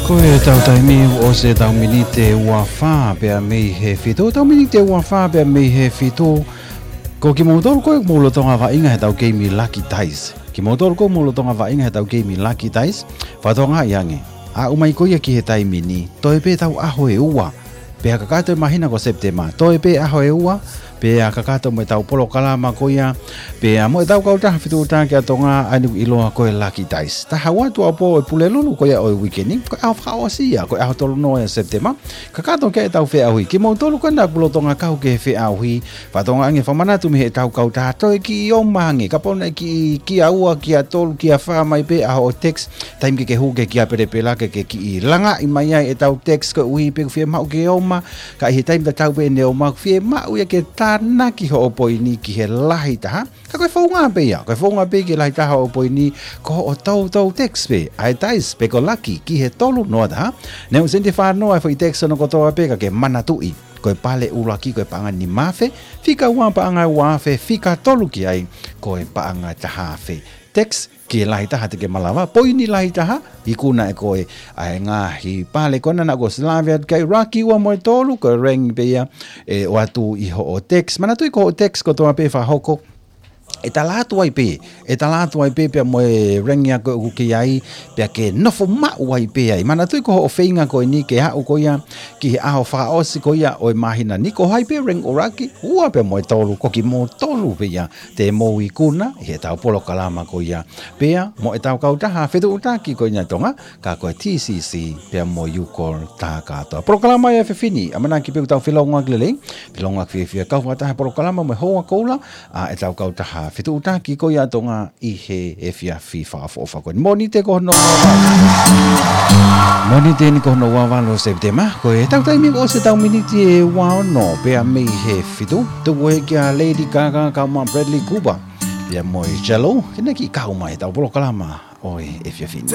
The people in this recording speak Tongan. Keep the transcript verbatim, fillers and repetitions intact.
Ko e tau taimi ʻoku ʻosi e tau miniti ua fā pea mei he fitu, tau miniti ua fā pea mei he fitu. Ko kimoutolu ko ē ʻoku mou lolotonga vaʻinga he tau keimi Lucky Dice. Kimoutolu ko ē ʻoku mou lolotonga vaʻinga he tau keimi Lucky Dice, fakatokangaʻi ange. Aʻu mai ko ia ki he taimi ni, toe pē tau ʻaho ʻe ua. Pea kakato e māhina ko Sepitema, toe pē ʻaho ʻe ua. Pea kakato mo e tau polokalama ko ia, pea mo e tau kautaha fetuʻutaki ʻa Tonga ʻa eni ʻoku ʻiloa ko e Lucky Dice. Taha ua tuʻuapō ʻo e Pulelulu ko ia ʻo e uikeni, ko e ʻaho fakaʻosi ia, ko e ʻaho tolu noa ʻo Sepitema. Kakato ki ai e tau feʻauhi. Kimoutolu ko ē naʻa kuo lolotonga kau ki he feʻauhi, fakatokangaʻi ange, fakamanatu mei he tau kautaha, toe kiʻi ō mai ange, kapau naʻe kiʻi kia ua, kia tolu, kia fā mai pē ʻa hoʻo text, taimi ke ke hū ki he kia pelepela ke ke kiʻi langaʻi mai ai e tau text koeʻuhi pē ʻoku fiemaʻu ke ō mai, ka ʻi he taimi tatau pē ʻene ō mai ʻoku fiemaʻu ia ke tānaki hoʻo poini ki he lahi taha. Ka ko e founga pē ia, ko e founga pē ki he lahi taha hoʻo poini, ko hoʻo toutou text pē ʻa e dice pe ko e Lucky ki he tolu noa taha. Neongo ʻoku sēniti fā noa e foʻi text hono kotoa pē, ka ke manatuʻi, ko e pale ʻuluaki ko e paʻanga nima afe, fika ua paʻanga ua afe, fika tolu ki ai ko e paʻanga taha afe. Text ki he lahi taha te ke malava, poini lahi taha, ikuna ʻe koe ʻa e ngaahi pale ko ena naʻa ku ʻosi lave atu ki ai, Lucky ua mo e tolu, ko e rank pē ia ʻe ʻoatu ʻi hoʻo text. Manatuʻi ko hoʻo text kotoa pē fakahoko, ʻe tala atu ai pē, ʻe tala atu ai pē pea mo e rank ia ko ē ʻoku ke ʻi ai, pea ke nofo maʻu ai pē ai. Manatuʻi ko hoʻo feinga ko eni ke aʻu ko ia ki he ʻaho fakaʻosi ko ia ʻo e māhina ni, ko hai pē rank ʻuluaki, ua pea mo e tolu, ko kimoutolu pē ia te mou ikuna ʻi he tau polokalama ko ia, pea mo e tau kautaha fetuʻutaki ko eni ʻa Tonga, ka ko e T C C pea mo e UCOL tā kātoa. Polokalama ia ʻa e efiafi ni, ʻamanaki pē ʻoku tau felōngoaki lelei, felōngoaki fiefia kau fakataha he polokalama mo e houa koula ʻa e tau kautaha fetuʻutaki ko ia ʻa Tonga ʻi he efiafi fakaʻofoʻofa ko eni. Mōnite ko hono ua valu. Mōnite ni ko hono ua valu ʻo Sepitema, ko e tau taimi ʻoku ʻosi e tau miniti ʻe ua ono pea mei he fitu. Tuku hē kia Lady Gaga kau mo Bradley Cooper, pea mo e J-Lo, ke na kiʻi kau mai he tau polokalama ʻo e efiafi ni.